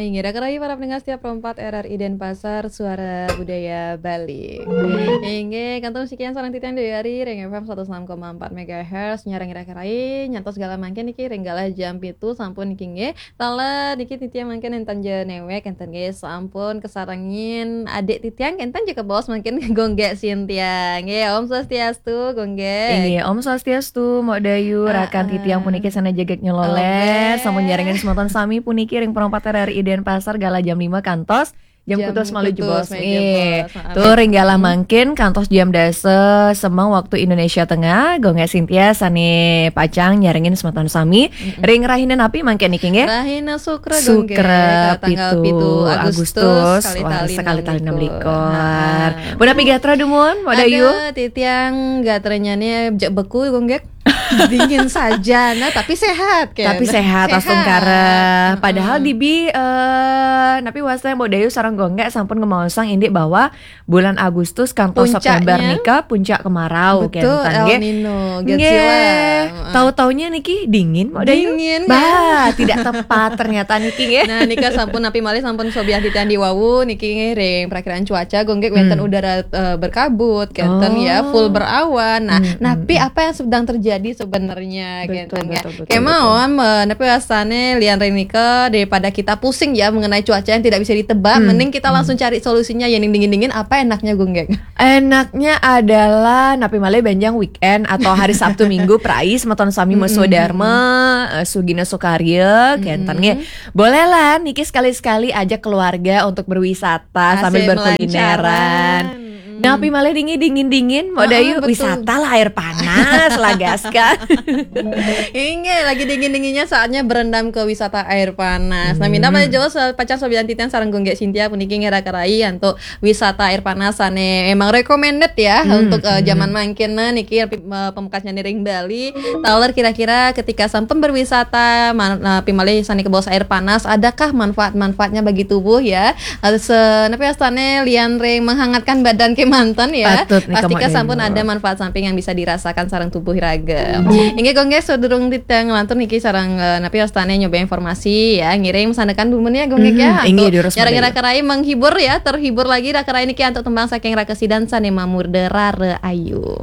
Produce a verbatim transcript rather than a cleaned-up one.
Inggih, raka rayi para pendengar setia Pro empat R R I Denpasar, Suara Budaya Bali. Inggih, kantun sekian sareng titiang Dewi Ari, ring F M seratus enam koma empat megahertz, nyarengin raka rayi, nyantos galah mangkin niki, ring galah jam pitu, sampun niki nggih. Taler niki titiang mangkin enten ja newek, enten nggih, sampun kasarengin adik titiang, enten ja kabaos mangkin Gung Gek Sintia. Nggih, Om Swastiastu, Gung Gek. Inggih, Om Swastiastu, Mbok Dayu, rakan titiang puniki sané jegég nyeloleh, sampun nyarengin semeton sami puniki ring Pro empat R R I Denpasar galah jam lima kantos jam kutus malu jebos. Nggih. Tur ring galah mangkin kantos jam dasa semeng waktu Indonesia Tengah, Gung Gek Sintia sané pacang nyarengin semeton sami ring rahina napi mangkin niki nggih? Rahina Sukra, Gung Gek, Sukra, tanggal pitu pitu Agustus, Agustus, kalih wah, tali sakali tali enam likur. Enam likur. Ha. Punapi gatra dumun, Mbok Dayu? Ada, titiang gatranyané jek beku, Gung Gek. Dingin saja, nah, tapi sehat, kan? Tapi sehat, astungkara. Heeh. Padahal dibi, eh, napi wasta Mbok Dayu sareng Gung Gek sampun ngemaosang indik bahwa bulan Agustus kantos September nika puncak kemarau, betul, kenten, El Nino, nggih. Nggih. Heeh. Tahu-taunya niki dingin, Mbok Dayu? Dingin, bah, tidak tepat ternyata niki, nggih. Nah, nika sampun napi malih sampun sobiah titiang diwawu niki, nggih, ring perakiraan cuaca, Gung Gek, wénten udara, eh, berkabut, kenten, ya, full berawan. Nah, napi apa yang sedang terjadi sebenarnya, betul, kenten, ya? Betul, betul, betul. Kemawon, eh, napi wastané lian ring nika, daripada kita pusing ya mengenai cuaca yang tidak bisa ditebak, mending kita langsung cari solusinya, ya, yang dingin-dingin, apa enaknya, Gung Gek? Enaknya adalah napi malih benjang weekend atau hari Sabtu Minggu, prai semeton sami maswadharma, eh, sugina sukarya, kenten nggih. Bolehlah niki sekali-sekali ajak keluarga untuk berwisata sambil berkulineran. Asik, melancaran. Napi malih dingin, dingin, dingin, Mbok Dayu, betul. Wisata lah air panas lah, gas kan. Inggih, lagi dingin-dinginnya saatnya berendam ke wisata air panas. Nah, minta malih jauh pacang sobian titiang sareng Gung Gek Sintia puniki nggih raka rayi antuk wisata air panas sané memang recommended ya untuk, eh, zaman mangkin. Nah, niki, eh, pamekasnyané ring Bali. Taler kira-kira ketika sampun berwisata, man-, eh, napi malih sané kabaos air panas, adakah manfaat-manfaatnya bagi tubuh ya? Eh, se-, napi wastané lian ring menghangatkan badan kemanten ya. Patut nika, Mbok Dayu. Pastika sampun ada manfaat samping yang bisa dirasakan sareng tubuh raga. Inggih, Gung Gek, sadurung titiang nglantur niki sareng, eh, napi wastané nyoba informasi ya, ngiring masandekan dumun ya, Gung Gek, ya. Inggih, durus, Mbok Dayu. Nyarengin raka rayi menghibur ya, terhibur lagi raka rayi niki antuk tembang saking Raka Sidan sané mamurda Rara Ayu.